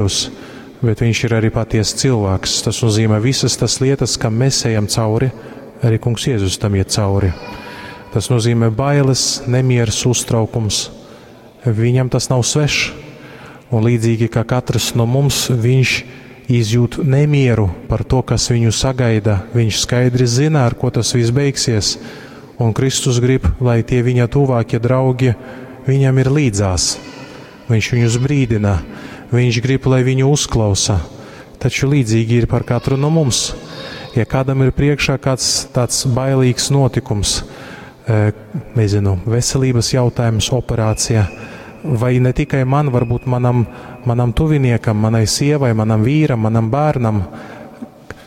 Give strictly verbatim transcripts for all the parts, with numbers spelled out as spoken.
Dievs, bet viņš ir arī patiesa cilvēks. Tas nozīmē visas tas lietas, kam mēs ejam cauri, arī Kungs Jēzus tam iet cauri. Tas nozīmē bailes, nemieris, uztraukums. Viņam tas nav svešs. Un līdzīgi kā katrs no mums, viņš izjūt nemieru par to, kas viņu sagaida. Viņš skaidri zina, ar ko tas viss beigsies. Un Kristus grib, lai tie viņa tuvākie draugi viņam ir līdzās. Viņš viņus brīdina, viņš grib, lai viņu uzklausa. Taču līdzīgi ir par katru no mums. Ja kādam ir priekšā kāds tāds bailīgs notikums, e, nezinu, veselības jautājums, operācija, vai ne tikai man, varbūt manam, manam tuviniekam, manai sievai, manam vīram, manam bērnam,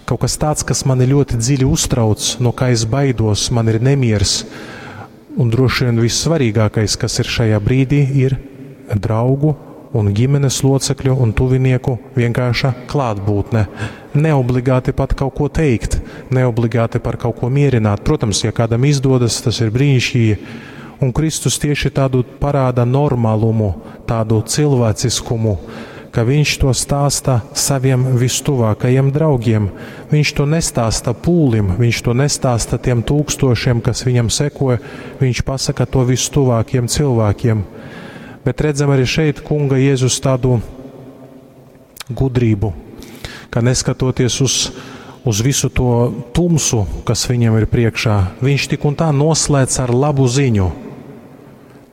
kaut kas tāds, kas mani ļoti dziļi uztrauc, no kā es baidos, man ir nemiers. Un droši vien vissvarīgākais, kas ir šajā brīdī, ir draugu un ģimenes locekļu un tuvinieku vienkārša klātbūtne. Neobligāti pat kaut ko teikt, neobligāti par kaut ko mierināt. Protams, ja kādam izdodas, tas ir brīnišķīgi. Un Kristus tieši tādu parāda normālumu, tādu cilvēciskumu, ka viņš to stāsta saviem vistuvākajiem draugiem. Viņš to nestāsta pūlim, viņš to nestāsta tiem tūkstošiem, kas viņam sekoja, viņš pasaka to vistuvākiem cilvēkiem. Bet redzam arī šeit Kunga Jēzus tādu gudrību, ka neskatoties uz, uz visu to tumsu, kas viņam ir priekšā, viņš tik un tā noslēdz ar labu ziņu.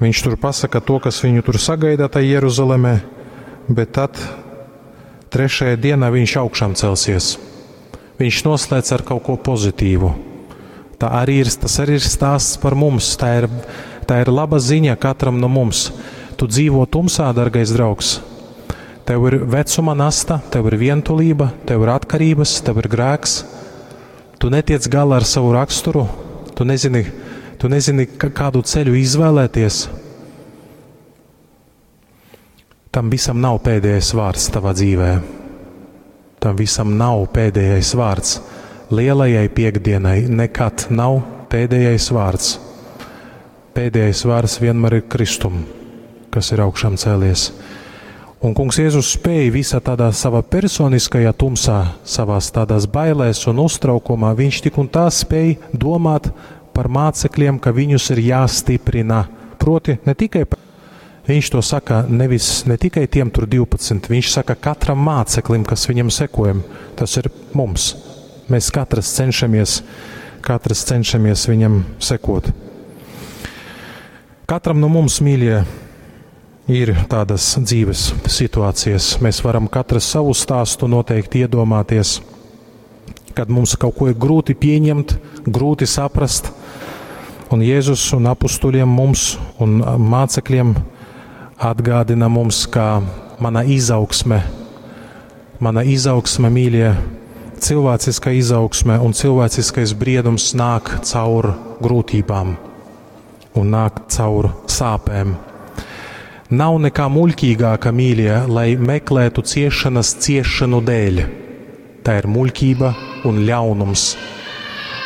Viņš tur pasaka to, kas viņu tur sagaida tajā Jeruzalemē, bet tad trešajā dienā viņš augšām celsies. Viņš noslēdz ar kaut ko pozitīvu. Tā arī ir, tas arī ir stāsts par mums. Tā ir, tā ir laba ziņa katram no mums. Tu dzīvo tumsā, dargais draugs. Tev ir vecuma nasta, tev ir vientulība, tev ir atkarības, tev ir grēks. Tu netiec galā ar savu raksturu, tu nezini, tu nezini, kādu ceļu izvēlēties. Tam visam nav pēdējais vārds tavā dzīvē. Tam visam nav pēdējais vārds. Lielajai piekdienai nekad nav pēdējais vārds. Pēdējais vārds vienmēr ir Kristum, kas ir augšām cēlies. Un Kungs Jēzus spēja visā tādā savā personiskajā tumsā, savās tādās bailēs un uztraukumā, viņš tik un tā spēja domāt par mācekļiem, ka viņus ir jāstiprina. Proti, ne tikai par Viņš to saka nevis ne tikai tiem tur divpadsmit, viņš saka katram māceklim, kas viņam sekojam. Tas ir mums. Mēs katrs cenšamies, katrs cenšamies viņam sekot. Katram no mums, mīļie, ir tādas dzīves situācijas. Mēs varam katrs savu stāstu noteikti iedomāties, kad mums kaut ko ir grūti pieņemt, grūti saprast. Un Jēzus un apustuļiem mums un mācekļiem atgādina mums, ka mana izaugsme, mana izaugsme, mīļie, cilvēciskā izaugsme un cilvēciskais briedums nāk caur grūtībām un nāk caur sāpēm. Nav nekā muļķīgāka, mīļie, lai meklētu ciešanas ciešanu dēļ. Tā ir muļķība un ļaunums.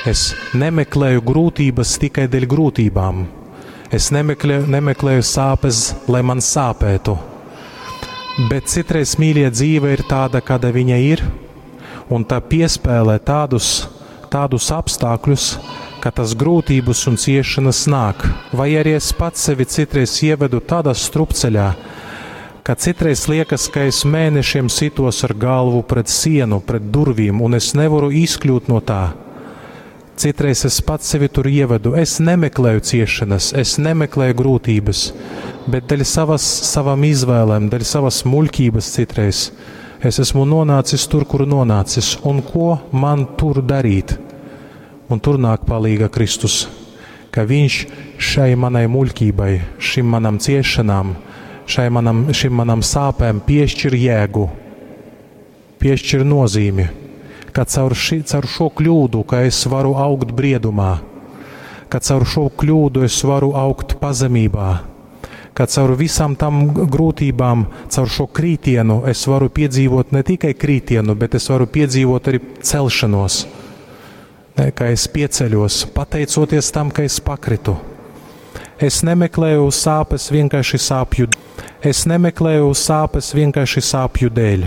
Es nemeklēju grūtības tikai dēļ grūtībām. Es nemeklēju, nemeklēju sāpes, lai man sāpētu. Bet citreiz, mīļie, dzīve ir tāda, kāda viņa ir, un tā piespēlē tādus, tādus apstākļus, ka tas grūtības un ciešanas nāk. Vai arī es pats sevi citreiz ievedu tādā strupceļā, ka citreiz liekas, ka es mēnešiem sitos ar galvu pret sienu, pret durvīm, un es nevaru izkļūt no tā. Citreiz es pats sevi tur ievedu. Es nemeklēju ciešanas, es nemeklēju grūtības, bet dēļ savas, savām izvēlēm, dēļ savas muļķības citreiz es esmu nonācis tur, kur nonācis, un ko man tur darīt? Un tur nāk palīga Kristus, ka viņš šai manai muļķībai, šim manam ciešanām, šai manam, šim manam sāpēm piešķir jēgu, piešķir nozīmi, ka caur, ši, caur šo kļūdu, ka es varu augt briedumā, ka caur šo kļūdu es varu augt pazemībā, ka caur visām tam grūtībām, caur šo krītienu es varu piedzīvot ne tikai krītienu, bet es varu piedzīvot arī celšanos. Ne, ka es pieceļos, pateicoties tam, ka es pakritu. Es nemeklēju sāpes vienkārši sāpju. Es nemeklēju sāpes vienkārši sāpju dēļ.